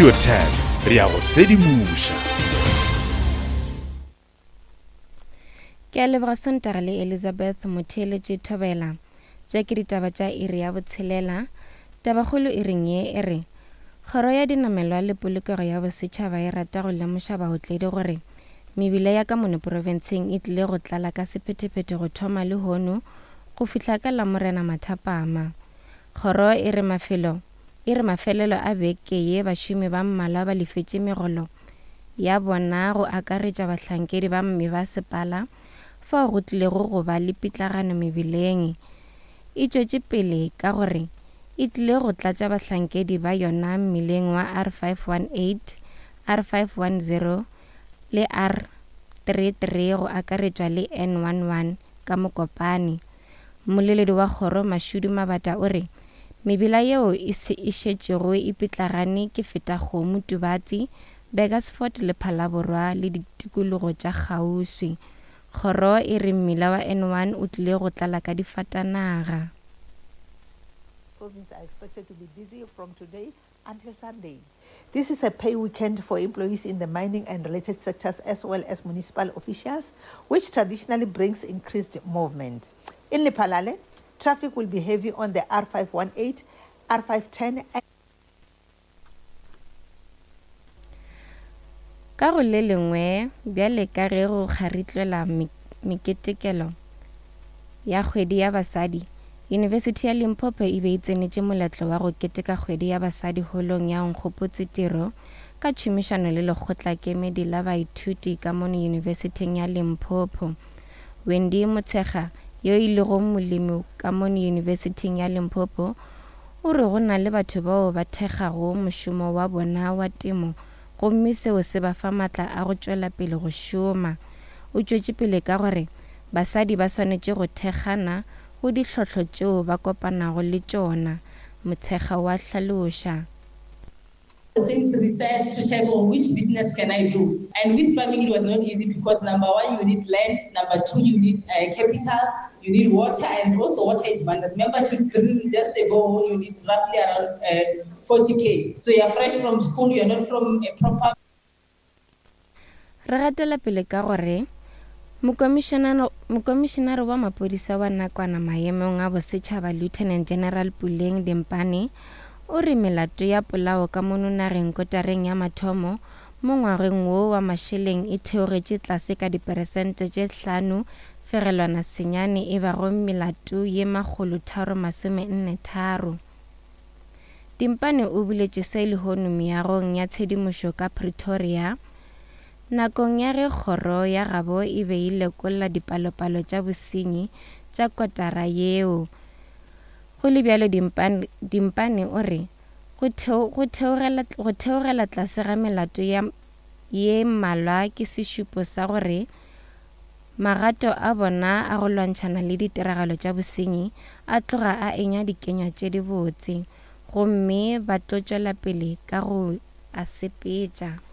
Radio 10 re a go sedimoša. Ke a leboga Sontaga le Elizabeth Motheeletše Thobela. Tše ke ditaba tša iri ya botshelela. Tabakgolo iring ye e re, Kgoro ya Dinamelwa le Polokego ya Bosetšhaba e rata go lemoša baotledi gore mebila ya ka mono profenseng e tlile go tlala ka sephethephethe go thoma lehono go fihla ka Lamorena mathapama. Kgoro e re mafelo e re mafelelo a beke ye bašomi ba mmalwa ba lefetše megolo ya bona go akaretša bahlankedi ba mebasepala fao go tlilego go ba le pitlagano mebileng. E tšwetše pele ka gore e tlile go tlatša bahlankedi ba yona mmileng wa R518, R510 le R33 go akaretšwa le N11 ka Mokopane. Mmoleledi wa kgoro Mashudu Mabata o re mebila yeo e se e šetšego e pitlagane ke Fetakgomo, Tubatse, Burgersfort le Phalaborwa le ditikologo tša kgauswi. Kgoro e re mmila wa N1 o tlile go tlala ka difatanaga. Province are expected to be busy from today until Sunday. This is a pay weekend for employees in the mining and related sectors as well as municipal officials, which traditionally brings increased movement. In Lephalale, traffic will be heavy on the R518, R510 and Ka go le lengwe, bjale ka ge go kgaritlelwa meketekelo ya Kgwedi ya Basadi, Yunibesithi ya Limpopo e be e tsenetše moletlo wa go keteka Kgwedi ya Basadi holong ya Nkgopotse Tiro ka tšhomišano le Lekgotlakemedi la Baithuti ka mono Yunibesithing ya Limpopo. Wendy Motshekga, yo e lego molemi ka mono Yunibesithing ya Limpopo, O re go na le batho bao ba thekgago mošomo wa bona wa temo gomme seo se ba fa matla a go tšwela pele go šoma. O tšwetše pele ka gore basadi ba swanetše go thekgana go dihlotlo tšeo ba kopanago le tšona, Motshekga o a hlaloša. Things research to check on which business can I do and with farming it was not easy because number one you need land number two you need uh, capital you need water and also water is one remember to drill just a borehole you need roughly around uh, 40k so you're fresh from school you're not from a proper Re gatela pele ka gore Mokomišenare wa Maphodisa wa nakwana maemong a bosetšhaba Lieutenant General Puleng Dimpane o re melato ya polao ka mono nageng kotareng ya mathomo mo ngwageng wo wa mašeleng e theogetše tlase ka diperesente tše 5.9 e bago melato ye 343. Dimpane o boletše se lehono meagong ya tshedimošo ka Pretoria, nakong ya ge kgoro ya gabo e be e lekolla dipalopalo tša bosenyi tša kotara yeo. Go le bjalo Dimpane, Dimpane o re go, theo, go, theogela, go theogela tlase ga melato ya ye mmalwa ke sešupo sa gore Magato a bona a go lwantšhana le ditiragalo tša bosenyi a tloga a enya dikenywa tše dibotse, gomme ba tlo tšwela pele ka go a sepetša.